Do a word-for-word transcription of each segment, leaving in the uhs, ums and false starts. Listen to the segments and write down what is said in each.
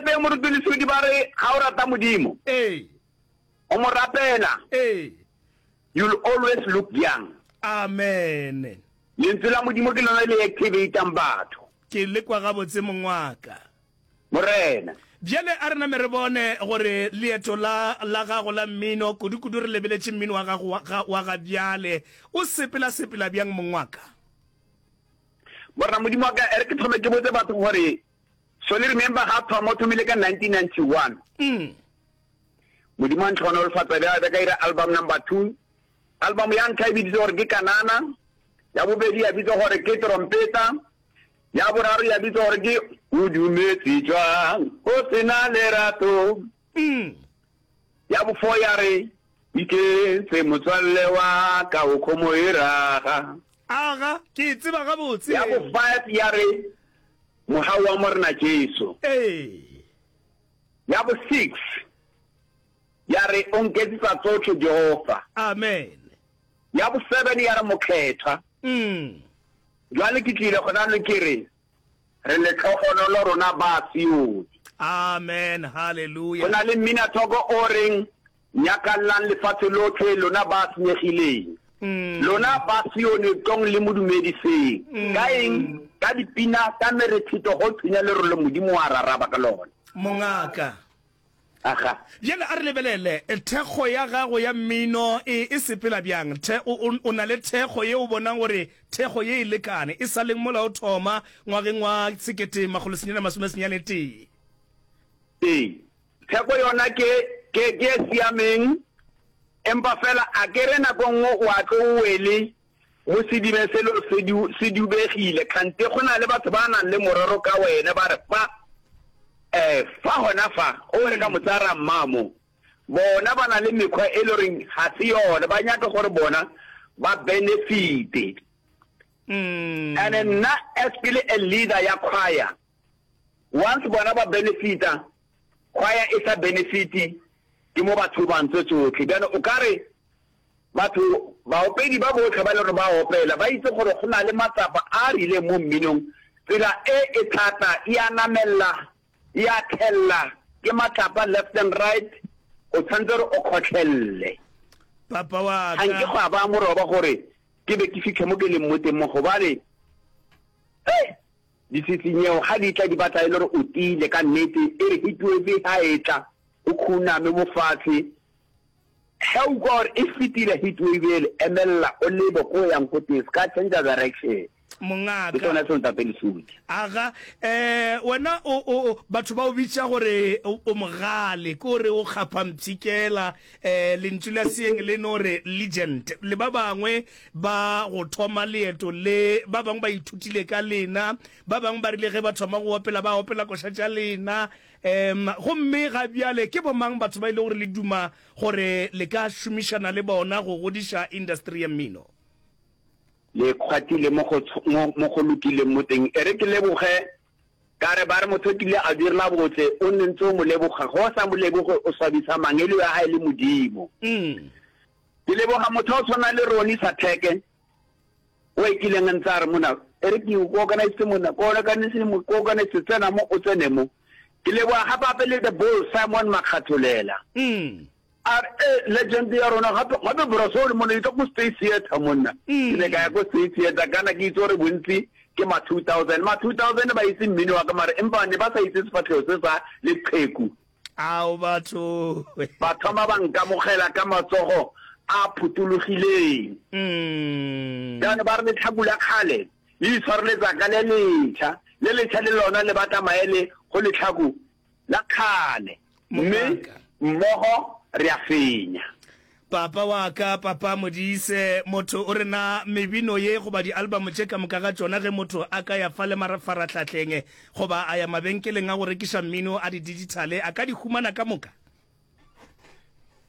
gape Moruti Lesodi ba re ga o rata Modimo, Ee. o mo rapela, Ee. you'll always look young. Amen. Lentswe la Modimo ke lona le activatang batho. Ke le kwa gabotse, mong wa ka. Morena. Bjale a re name re bone gore leeto la, la gago la mmino, kudu-kudu re lebeletše mmino wa gago wa, ga, wa ga bjale, o sepela-sepela bjang, mong wa ka? Morena Modimo wa ka, e re ke thome ke botse batho gore Solly Remember ga thoma o thomile ka nineteen ninety-one. Mm. Modimo a ntlhonolofatsa bja be ka ira album number two. Album ya ntlha e biditse gore ke Kanana, ya bobedi ya bitsa gore ke Trompeta, ya boraro ya bitsa gore ke O Dumetse Jwang O Sena Lerato, Mm. ya bofo ya re Iketse Motswalle wa ka o kgomo e raga, Aga, ke e tseba gabotse. ya bo five ya re Mohau wa Morena Jesu, Ee. ya bo six ya re O Nketsetsa Tsotlhe Jehova, Amen. ya bo seven ya re Mokgethwa. Mm. Jwale ke tlile gona le ke re re letlhogonolo rona ba Sione. Amen. Go Hallelujah. na le mminathoko o reng nyakallang lefatshe lotlhe lona ba senyegileng, Mm. lona ba Sione tlong le modumediseng ka eng, ka dipina, ka merethetho, go thunya lerole, Modimo wa raraba ka lona. Mongaka. Aga. Bjale a re lebelele thekgo ya gago ya mmino e, e sepela bjang. The, o, o, o na le thekgo ye o bonang gore thekgo ye e lekane e sa leng mola o thoma ngwageng wa sekete makgolo senyane masome senyane tee? Ee, theko yona ke ke ke e siameng, empa fela a ke re nako nngwe o a tlo o wele mo sedibeng selo se du se dubegile, kgante go na le batho ba nang le morero ka wena, ba re fa eh fa gona fa o re ka motsara mmamo, bona ba na le mekgwa e le goreng ga se yona, ba nyaka gore bona ba benefite. Mm. And nna as ke le a leader ya choir, once bona ba benefita, choir e sa benefite, ke mo batho ba ntse tsotlhe. Bjale o ka re batho baopedi ba botlhe ba le gore ba opela ba itse gore go na le matsapa a a rileng mo mminong, tsela e e thata e a namella, e a thella, ke matlapa left and right, o tshwanetse gore o kgotlhelle. Papa wa ga nke ka. Go a ba moroba gore ke be ke fitlhe mo ke leng mo teng mo, gobane eh ditshitsinyego ga di tla di batla e le gore o tiile ka nnete. E re heatwave ga e tla o khuname mo fatshe, ge o kwa gore e fetile heatwave ele, emelela o lebe ko o yang ko teng, se ka change direction. Ke Mongaka. Sona seo, ntate Lesodi. Aga, eh wena o o batho ba o bitša gore o o mogale, ke gore o kgapha mpshikela, eh lentšu la seeng le no re legend. Le ba bangwe ba go thoma leeto le, ba bangwe ba ithutile ka lena, ba bangwe ba rile ge ba thoma go opela ba opela koša tša lena. Em gomme ga bjale ke bomang batho ba ile gore le duma gore le ka šomišana le bona go godiša industry ya mmino? Le kgwathile mo go mo mo go lokileng mo teng. E re ke leboge ka re ba re motho o kile a direla botse o nne ntse o mo leboga, go o sa mo leboge o swabisa mangelo ya gae le Modimo. Mm. Ke leboga motho o tshwana le Roni Satheke o e kileng ntse a re mona e re ke o organise mona, ko organise mo, ko organise, tsena mo, o tsene mo. Ke leboga gape gape le the Bull Simon Makgatholela. Mm. A re e legend ya rona gape gape brasol mona e tla ko State Theatre monna. Ke ne ka ya ko State Theatre kana ke itse gore bontsi ke ma two thousand, ma two thousand ba itse mmino wa ka, mare empa ne ba sa itse sefatlhego se sa leqheku. Ao batho. Ba thoma ba nkamogela ka matsogo a phuthologileng. Mm. Jaanong ba re letlhaku la kgale le itshwareletsa ka le letšha, le letšha le lona le batla maele go letlhaku la kgale, mme Mongaka. mmogo re a fenya. Papa wa ka, Papa Modise, motho o re na mebino ye goba di-album tše ka moka ga tšona ge motho a ka ya fa le mafarahlahleng goba a ya mabenkeleng a go rekiša mmino a di-digitale a ka di humana ka moka?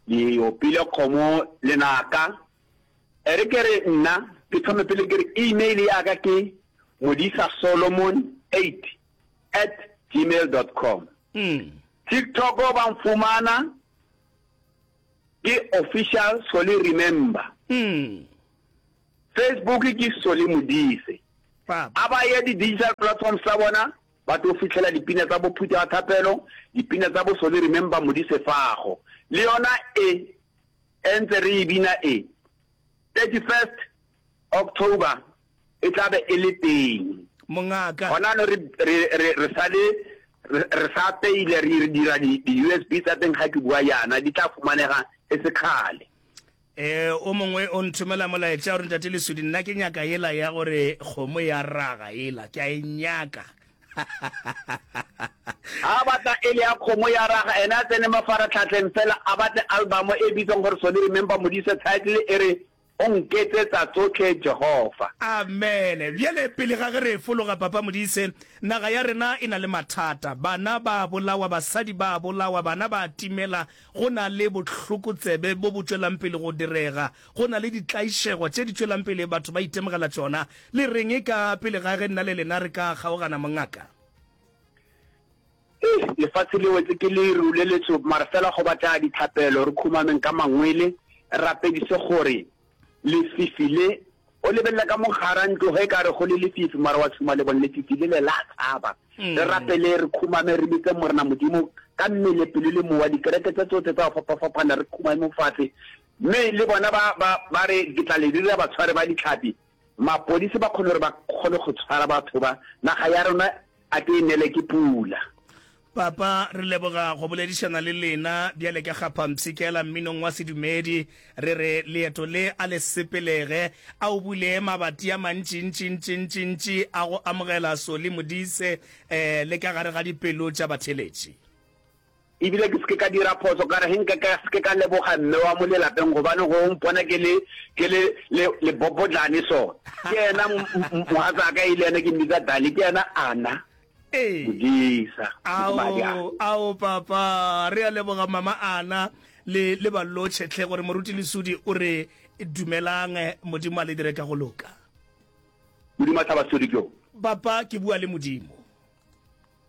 Di opile kgomo lenaka. E re ke re nna ke thome pele ke re email ya ka ke modisa solomon eight at gmail dot com. Mm. TikTok ba mfumana ke Official Solly Remember. Mm. Facebook ke Solly Modise. Papa. A ba ye di-digital platforms tsa bona. Ba tlo fihlela dipina tsa bo Phuta ya Thapelo, dipina tsa bo Solly Remember Modise Fago. Le yona e, e ntse re e bina e, thirty first October e tla be e le teng. Mongaka. Gona no re, re, re, re sa le, re, re sa apeile, re, re dira di, di U S B tsa teng ga ke bua yana, di tla fumanega e se kgale. E, o mongwe o nthomela molaetša o re, Ntate Lesodi, nna ke nyaka yela ya gore kgomo ya raga yela, ke a e nyaka. A batla e le ya kgomo ya raga, ena a tsene mafaratlhatlheng fela a batle album e bitswang gore Solly Remember Modise, title e re O nketsetsa tsohle Jehofa. Amene. Bjale, pele ga ge re fologa, Papa Modise, naga ya rena e na le mathata. Bana ba a bolawa, basadi ba a bolawa, bana ba a timela, go na le bohlokotsebe bo bo tšwelang pele go direga, go na le ditlaišego tše di tšwelang pele batho ba itemogela tšona. Le reng ka pele ga ge nna le lena re ka kgaogana, mongaka? Eish, lefatshe le wetse ke leru le letsho, mara fela go batla dithapelo, re khumameng ka mangwele, re rapedise gore lefifi le, o lebelela ka mo gara ntlo ge e ka re go le lefifi, mara wa tshuma lebone, lefifi le le la tshaba. Re rapele, re khumame, re bitse Morena Modimo ka mmele, pelo le mowa, dikereke tse tsohle tsa go fapafapana, re khumame mo fatshe. Mme le bona ba, ba, ba re, Ke tla le dira batshwari ba ditlhapi. Mapodisi ba kgone gore ba kgone go tshwara batho ba. Naga ya rona a ke e nele ke pula. Papa, re leboga go boledišana le lena bjale ka Kgaphampshikela mminong wa sedumedi. Re re leeto le a le sepelege, a o bule mabati a mantšintšintšintšintši a go amogela Solly Modise eh, le ka gare ga dipelo tša batheeletši. Ebile ke se ke ka dira phoso ka re ge nka ka se ke ka leboga mme wa mo lelapeng gobane go mpona ke le ke le le lebobodlane so. Ke yena mogatsaka e le yena ke mmitsa Dali, ke yena Ana. Ee. Modisa, mohumagadi Ana. Ao, ao papa, re a leboga mama Ana le le ba lotšhe hle gore moruti Lesodi o re dumelang, Modimo a le dire ka go loka. Modimo a hlaba Sodi ke yo. Papa, ke bua le Modimo.